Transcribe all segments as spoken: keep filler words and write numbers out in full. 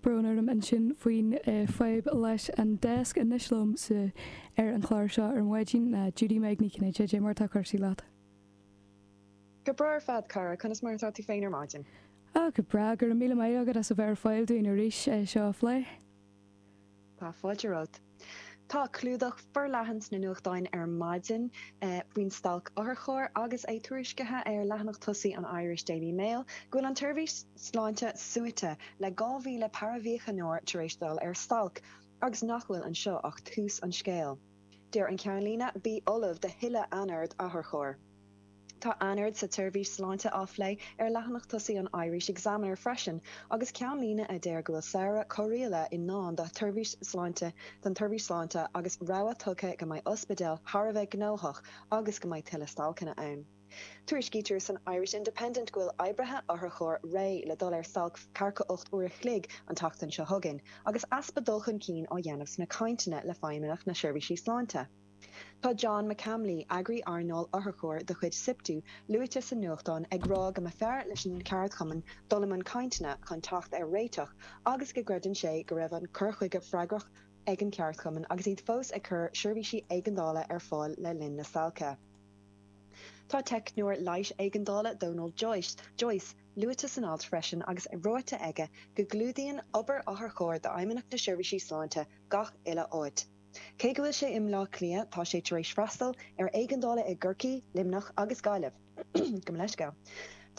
Brón orm ansin faoin fadhb leis an deasc anois liom sa ar an chlár seo ar maidin ná Judy Meg Ní Chinnéide cad é mar tá cúrsaí leat. Go breá ar fad cara conas mar atá tú féin ar maidin. Á go breá go raibh míle maith agat as a bheith ar fáil dúinn arís é seo a phlé. Tá fáilte romhat. Tá clúdach forleathan sna nuachtáin ar maidin faoin stailc otharchairr agus é tuairiscithe ar leathanach tosaigh an Irish Daily Mail go bhfuil an tseirbhís sláinte suaite le dhá mhíle paraimhíochaineoir tar éis dul ar stailc agus nach bhfuil anseo ach tús an scéil. Deir an ceannlíne bí ullamh do thuilleadh anord otharchairr. Tá anord sa tseirbhís sláinte á phlé ar leathanach tosaigh an Irish Examiner freisin agus ceannlíne a deir go bhfuil samhradh corraíola i ndán do sheirbhís sláinte don tseirbhís sláinte agus rabhadh tugtha go mbeidh ospidéil thar a bheith gnóthach agus go mbeidh tuilleadh stailceanna ann. Tuairiscítear san Irish Independent go bhfuil oibrithe otharchairr réidh le dul ar stailc ceathracha ocht uair a chloig an tseachtain seo chugainn agus easpa dul chun cinn á dhéanamh sna cainteanna le Feidhmeannacht na Seirbhísí Sláinte. Tá John McCamley, eagraí earnáil otharchairr de chuid SIPTU, luaite sa nuachtán ag rá go mb'fhearr leis an cheardchumann dul i mbun cainteanna chun teacht ar réiteach agus go gcreideann sé go raibh an cur chuige freagrach ag an cheardchumann agus iad fós ag cur seirbhísí éigeandála ar fáil le linn na stailce. Tá teicneoir leighis éigeandála Donald Joyce, Joyce luaite san alt freisin agus ráite aige go gclúdaíonn obair otharchairr d'Fheidhmeannacht na Seirbhísí Sláinte gach uile áit. Cé go bhfuil sé i mBleá Cliath tá sé tar éis freastal ar éigeandála i gCorcaigh, Luimneach agus Gaillimh. Gabh mo leithscéal.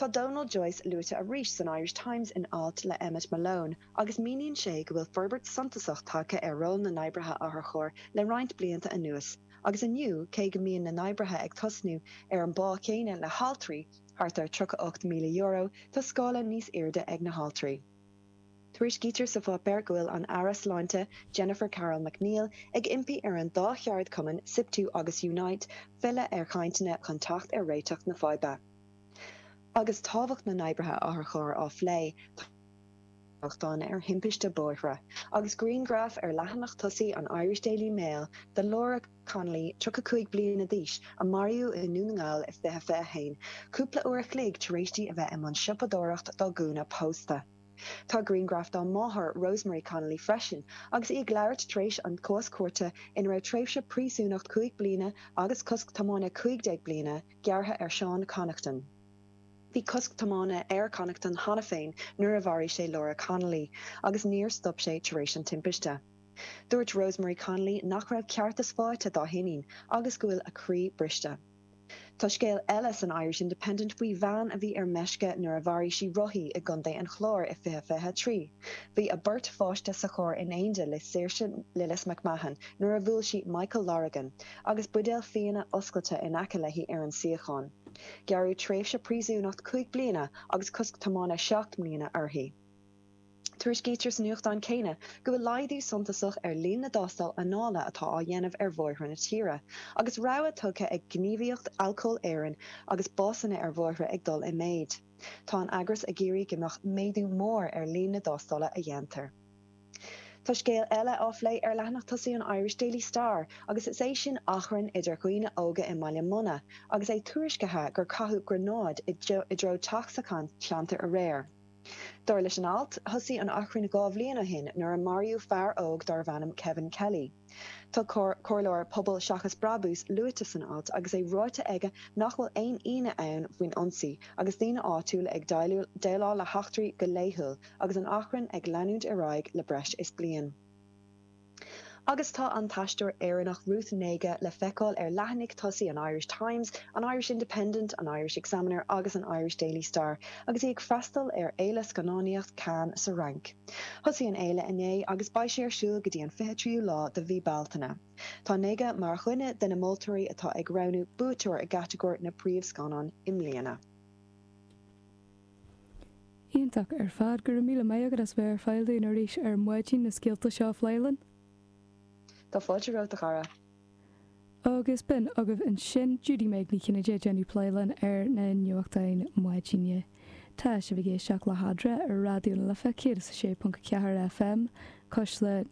Tá Donald Joyce luaite arís san Irish Times in alt le Emmet Malone agus míníonn sé go bhfuil forbairt suntasach tagtha ar ról na n-oibrithe otharchairr le roinnt blianta anuas agus inniu cé go mbíonn na n-oibrithe ag tosnú ar an bpá céanna le haltraí, thart ar tríocha ocht míle euro, tá scála níos airde ag na haltraí. Tuairiscítear sa pháipéar go bhfuil an Aire Sláinte Jennifer Carroll MacNeill ag impí ar an dá cheardchumann, SIPTU agus Unite, filleadh ar chainteanna chun teacht ar réiteach na faidhbe. Agus tábhacht na n-oibrithe otharchairr á phlé, tá nuachtán ar thimpiste bóithre agus grianghraf ar leathanach tosaigh an Irish Daily Mail de Laura Connolly, tríocha cúig bliana d'aois, a maraíodh i nDún na nGall i fiche fiche a haon, cúpla uair a chloig tar éis di a bheith i mbun siopadóireacht dá gúna pósta. Tá grianghraf dá máthair, Rosemary Connolly, freisin agus í ag labhairt tar éis an cás cúirte ina raibh tréimhse príosúnacht cúig bliana agus cosc tiomána cúig déag bliana gearrtha ar Seán Connaughton. Bhí cosc tiomána ar Connaughton cheana féin nuair a mharaigh sé Laura Connolly agus níor stop sé tar éis an timpiste. Dúirt Rosemary Connolly nach raibh ceartas faighte dá hiníon agus go bhfuil a croí briste. Tá scéal eile san Irish Independent faoi bhean a bhí ar meisce nuair a mharaigh sí rothaí i gContae an Chláir i fiche fiche a trí. Bhí a beirt pháiste sa charr in éindí le Saoirse Lillis McMahon nuair a bhuail sí Michael Lorigan agus buidéal fíona oscailte in aice léi ar an suíochán. Gearradh tréimhse príosúnacht cúig bliana agus cosc tiomána seacht mbliana uirthi. Tuairiscítear sa nuachtán céanna go bhfuil laghdú suntasach ar líon na dtástáil anála atá á dhéanamh ar bhóithre na tíre, agus rabhadh tugtha ag Gníomhaíocht Alcóil Éireann agus básanna ar bhóithre ag dul i méid. Tá an eagras ag iarraidh go mbeadh méadú mór ar líon na dtástála a dhéantar. Tá scéal eile á phlé ar leathanach tosaigh an Irish Daily Star agus is é sin achrann idir dhaoine óga i mBaile Munna agus é tuairiscithe gur caitheadh gránáid i dtreo teach sa cheantar aréir. Dar leis an alt, thosaigh an achrann dhá bhliain ó shin nuair a maraíodh fear óg darbh ainm Kevin Kelly. Tá comhairleoir Pobal Seachas Brabús luaite san alt agus é ráite aige nach bhfuil aon fhianaise ann faoin ionsaí agus daoine áitiúla ag déileáil le heachtraí go laethúil agus an achrann ag leanúint ar aghaidh le breis is bliain. Agus tá an t-aisteoir Éireannach Ruth Negga le feiceáil ar leathanaigh tosaigh an Irish Times, an Irish Independent, an Irish Examiner agus an Irish Daily Star agus í ag freastal ar Fhéile Scannánaíocht Cannes sa Fhrainc. Thosaigh an fhéile inné agus beidh sé ar siúl go dtí an fiche tríú lá de mhí Bealtaine. Tá Negga mar dhuine de na moltóirí atá ag roghnú buaiteoir i gcatagóir na bpríomhscannán i mbliana. Iontach ar fad go raibh míle maith agat as bheith ar fáil dúinn arís ar maidin na scéalta seo a phlé linn. Tá fáilte romhat a chara. Agus b'in agaibh ansin Judy Meg Ní Chinnéide ag déanamh plé linn ar na nuachtáin maidine. Tá sibh ag éisteacht le hEadra ar Raidió na Life céad is a sé ponc a ceathair FM, Cuisle